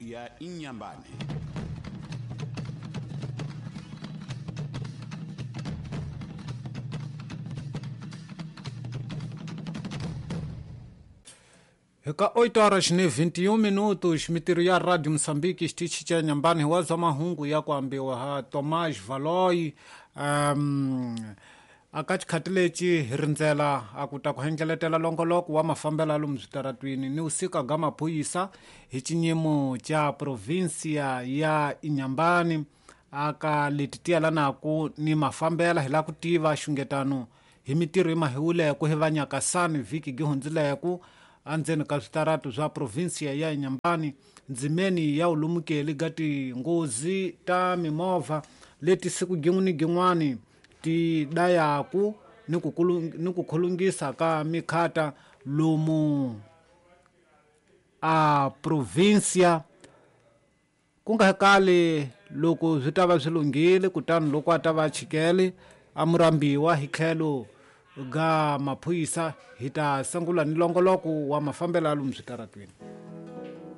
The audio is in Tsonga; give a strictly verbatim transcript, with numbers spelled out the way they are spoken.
ya Inhambane. Eka oito horas ni vinte e um minutos, mitirho ya Radio Moçambique xitichi xa Inhambane hi wa zwa mahungu ya ku ambiwa ha Tomás Valoy. Um, aka xikhati lexi hi rindzela a ku ta ku hengeletela longoloko wa mafambelo lomu switaratwini ni usika ga maphorisa hi xinyimo xa provinsia ya Inhambane aka leti ti yelanaku ni mafambela hi la ku tiva xungetano hi mitirho yi mahiwuleko hi va Nyakasani vhiki gi hundzileko andzeni ka switaratu swa provinsia ya Inhambane ndzimeni ya ulumukeli ga tinghozi ta mimovha leti siku gin'we ni gin'wani ti dayaku ni ku ni ku khulungisa ka mikhata lomu a provinsia ku nga kali loko swi ta va swi lunghile kutani loko a ta va chikele a murambiwa hi tlhelo ga maphorisa hi ta sungula ni longoloko wa mafambelo lomu switaratwini.